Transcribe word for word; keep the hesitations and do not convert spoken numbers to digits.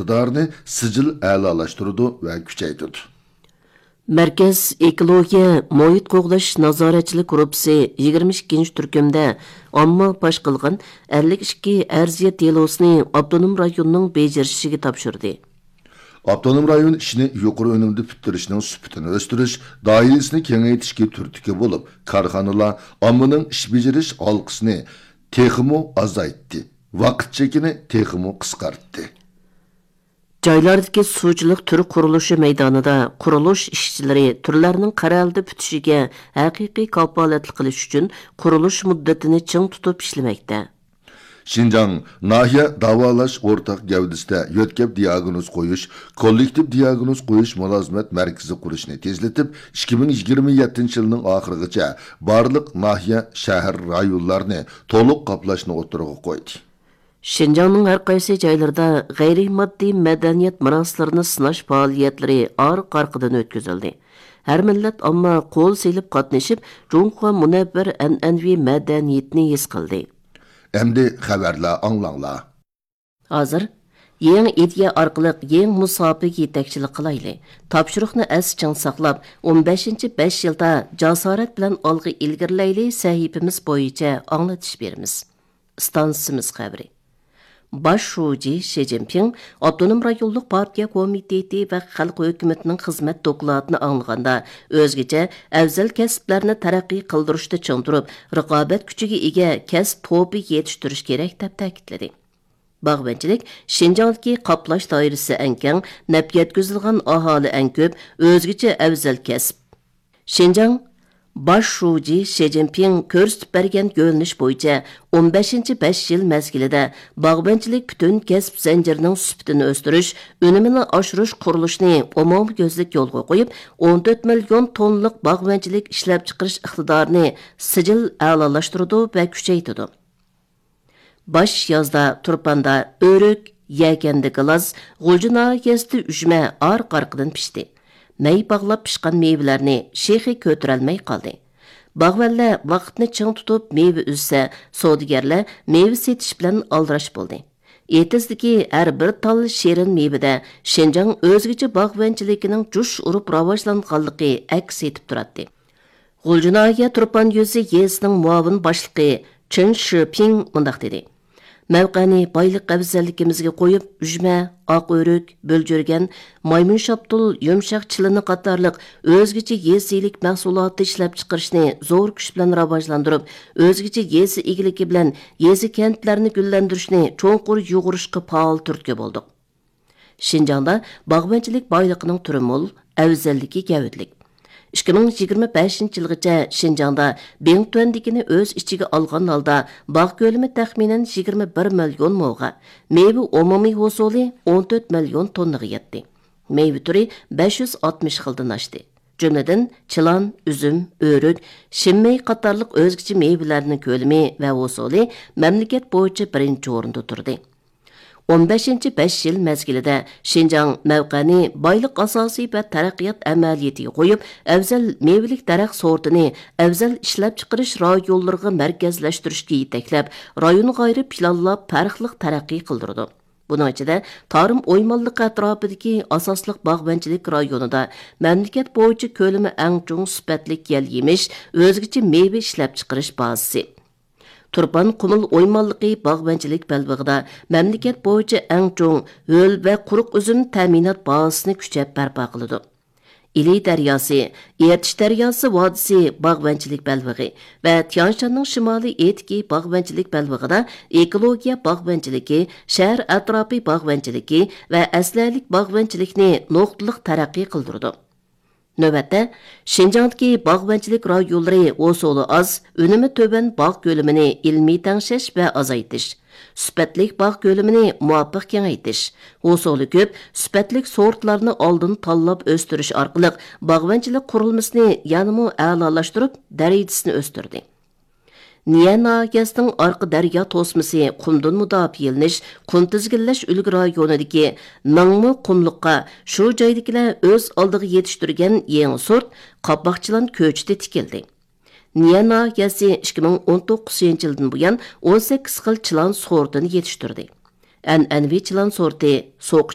ئىقتىدارىنى سىجىل ئەلالاشتۇرىدۇ ۋە كۈچەيتىدۇ. مەركەز ئېكولوگىيە، مۇھىت قوغداش نازارەتچىلىك گۇرۇپپىسى يىگىرمە ئىككىنچى تۈركۈمدە ئامما پاش قىلغان ئەللىك ئىككى ئەرزىيەت دېلوسىنى ئاپتونوم رايوننىڭ بېجىرىشىگە تاپشۇردى. ئاپتونوم رايون ئىشنى يۇقىرى ئۈنۈمدە پۈتتۈرۈشنىڭ سۈپىتىنى ئۆستۈرۈش، دائىرىسىنى كېڭەيتىشكە تۈرتكە بولۇپ، كارخانىلار ئاممىنىڭ ئىش بېجىرىش ھالقىسىنى تېخىمۇ ئازايتتى، ۋاقىت چېكىنى تېخىمۇ قىسقارتتى. جايلاردىكى سۇچىلىق تۈر قۇرۇلۇشى مەيدانىدا قۇرۇلۇش ئىشچىلىرى تۈرلەرنىڭ قەرەلدە پۈتۈشىگە ھەقىقىي كاپالەتلىك قىلىش ئۈچۈن قۇرۇلۇش مۇددىتىنى چىڭ تۇتۇپ ئىشلىمەكتە. شىنجاڭ ناھىيە داۋالاش ئورتاق گەۋدىسىدە يۆتكەپ دىياگنوز قويۇش، كوللېكتىپ دىياگنوز قويۇش مۇلازىمەت مەركىزى قۇرۇشنى تېزلىتىپ، ئىككى مىڭ يىگىرمە يەتتىنچى يىلنىڭ ئاخىرىغىچە بارلىق ناھىيە، شەھەر، رايونلارنى تولۇق قاپلاشنى ئوتتۇرىغا قويدى. شىنجاڭنىڭ ھەر قايسى جايلىرىدا غەيرىي ماددىي مەدەنىيەت مىراسلىرىنى سىناش پائالىيەتلىرى ئارقا-ئارقىدىن ئۆتكۈزۈلدى. ھەر مىللەت ئامما قول سېلىپ قاتنىشىپ، جۇڭخۇا مۇنەۋۋەر ئەنئەنىۋى مەدەنىيىتىنى ھېس قىلدى. ئەمدى خەۋەرلەر ئاڭلاڭلار. ھازىر يېڭى ئىدىيە ئارقىلىق يېڭى مۇساپىگە يېتەكچىلىك قىلايلى. تاپشۇرۇقنى ئەستە چىڭ ساقلاپ، ئون بەشىنچى بەش يىلدا جاسارەت بىلەن ئالغا ئىلگىرىلەيلى سەھىپىمىز بويىچە ئاڭلىتىش بېرىمىز. ئىستانسىمىز خەۋىرى. باش شۇجى شى جىنپىڭ ئاپتونوم رايونلۇق پارتىيە كومىتېتى ۋە خەلق ھۆكۈمىتىنىڭ خىزمەت دوكلاتىنى ئاڭلىغاندا، ئۆزگىچە ئەۋزەل كەسىپلەرنى تەرەققىي قىلدۇرۇشتا چىڭ تۇرۇپ، رىقابەت كۈچىگە ئىگە كەسىپ توپى يېتىشتۈرۈش كېرەك، دەپ تەكىتلىدى. باغۋەنچىلىك شىنجاڭدىكى قاپلاش دائىرىسى ئەڭ كەڭ، نەپ يەتكۈزىدىغان ئاھالە ئەڭ كۆپ، ئۆزگىچە ئەۋزەل كەسىپ. شىنجاڭ باش شۇجى شى جىنپىڭ كۆرسىتىپ بەرگەن يۆنىلىش بويىچە ئون بەشىنچى بەش يىل مەزگىلىدە باغۋەنچىلىك پۈتۈن كەسىپ زەنجىرىنىڭ سۈپىتىنى ئۆستۈرۈش، ئۈنۈمىنى ئاشۇرۇش قۇرۇلۇشىنى ئومۇميۈزلۈك يولغا قويۇپ، ئون تۆت مىليون توننىلىق باغۋەنچىلىك ئىشلەپچىقىرىش ئىقتىدارىنى سىجىل ئەلالاشتۇرىدۇ ۋە كۈچەيتىدۇ. باش يازدا تۇرپاندا ئۆرۈك، يەكەندە گىلاس، غۇلجا ناھىيەسىدە ئۈجمە ئارقا-ئارقىدىن پىشتى. مەي باغلاپ پىشقان مېۋىلەرنى شېخى كۆتۈرەلمەي قالدى. باغۋەنلەر ۋاقىتنى چىڭ تۇتۇپ مېۋە ئۈزسە، سودىگەرلەر مېۋە سېتىش بىلەن ئالدىراش بولدى. ئېتىزدىكى ھەر بىر تال شېرىن مېۋىدە شىنجاڭ ئۆزگىچە باغۋەنچىلىكىنىڭ جۇش ئۇرۇپ راۋاجلانغانلىقى ئەكس ئېتىپ تۇراتتى. غۇلجا ناھىيە تۇرپان يۈزى يېزىسىنىڭ مۇئاۋىن باشلىقى چېن شىپىڭ مۇنداق دېدى: مەۋقەنى بايلىق ئەۋزەللىكىمىزگە قويۇپ، ئۈجمە، ئاق ئۆرۈك، بۆلجۈرگەن، مايمۇن شاپتۇل، يۇمشاق چىلىنى قاتارلىق ئۆزگىچە يېزا ئىگىلىك مەھسۇلاتى ئىشلەپچىقىرىشنى زور كۈچ بىلەن راۋاجلاندۇرۇپ، ئۆزگىچە يېزا ئىگىلىكى بىلەن يېزا، كەنتلەرنى گۈللەندۈرۈشنى چوڭقۇر يۇغۇرۇشقا پائال تۈرتكە بولدۇق. شىنجاڭدا باغۋەنچىلىك بايلىقىنىڭ تۈرى مول، ئەۋزەللىكى گەۋدىلىك. ئىككى مىڭ يىگىرمە بەشىنچى يىلغىچە شىنجاڭدا بىڭتۈەندىكىنى ئۆز ئىچىگە ئالغان ھالدا باغ كۆلىمى تەخمىنەن يىگىرمە بىر مىليون موغا، مېۋە ئومۇمىي ھوسۇلى ئون تۆت مىليون توننىغا يەتتى. مېۋە تۈرى بەش يۈز ئاتمىش خىلدىن ئاشتى. جۈملىدىن چىلان، ئۈزۈم، ئۆرۈك، شىنمېي قاتارلىق ئۆزگىچە مېۋىلەرنىڭ كۆلىمى ۋە ھوسۇلى مەملىكەت بويىچە بىرىنچى ئورۇندا تۇردى. ئون بەشىنچى بەش يىل مەزگىلىدە شىنجاڭ مەۋقەنى بايلىق ئاساسى ۋە تەرەققىيات ئەمەلىيىتىگە قويۇپ، ئەۋزەل مېۋىلىك دەرەخ سورتىنى ئەۋزەل ئىشلەپچىقىرىش رايونلىرىغا مەركەزلەشتۈرۈشكە يېتەكلەپ، رايونغا ئايرىپ پىلانلاپ پەرقلىق تەرەققىي قىلدۇرىدۇ. بۇنىڭ ئىچىدە، تارىم ئويمانلىقى ئەتراپىدىكى ئاساسلىق باغۋەنچىلىك رايونىدا مەملىكەت بويىچە كۆلىمى ئەڭ چوڭ سۈپەتلىك يەل يېمىش، ئۆزگىچە مېۋە ئىشلەپچىقىرىش بازىسى، تۇرپان قۇمۇل ئويمانلىقى باغۋەنچىلىك بەلبېغىدا مەملىكەت بويىچە ئەڭ چوڭ ھۆل ۋە قۇرۇق ئۈزۈم تەمىنات بازىسىنى كۈچەپ بەرپا قىلىدۇ. ئىلى دەرياسى، ئېرتىش دەرياسى ۋادىسى باغۋەنچىلىك بەلبېغى ۋە تيانشاننىڭ شىمالىي ئېتىكى باغۋەنچىلىك بەلبېغىدا ئېكولوگىيە باغۋەنچىلىكى، شەھەر ئەتراپى باغۋەنچىلىكى ۋە ئەسلىھەلىك باغۋەنچىلىكنى نۇقتىلىق تەرەققىي قىلدۇرىدۇ. نۆۋەتتە، شىنجاڭدىكى باغۋەنچىلىك رايونلىرى ھوسۇلى ئاز، ئۈنۈمى تۆۋەن باغ كۆلىمىنى ئىلمىي تەڭشەش ۋە ئازايتىش، سۈپەتلىك باغ كۆلىمىنى مۇۋاپىق كېڭەيتىش، ھوسۇلى كۆپ، سۈپەتلىك سورتلارنى ئالدىن تاللاپ ئۆستۈرۈش ئارقىلىق باغۋەنچىلىك قۇرۇلمىسىنى يەنىمۇ ئەلالاشتۇرۇپ، دەرىجىسىنى ئۆستۈردى. نىيە ناھىيەسىنىڭ ئارقا دەريا توسمىسى قۇمدىن مۇداپىئەلىنىش، قۇم تىزگىنلەش ئۈلگە رايونىدىكى ناڭمۇ قۇملۇققا شۇ جايدىكىلەر ئۆز ئالدىغا يېتىشتۈرگەن يېڭى سورت قاپاق چىلان كۆچىتى تىكىلدى. نىيە ناھىيەسى ئىككى مىڭ ئون توققۇزىنچى يىلدىن بۇيان ئون سەككىز خىل چىلان سورتىنى يېتىشتۈردى. ئەنئەنىۋى چىلان سورتى سوقا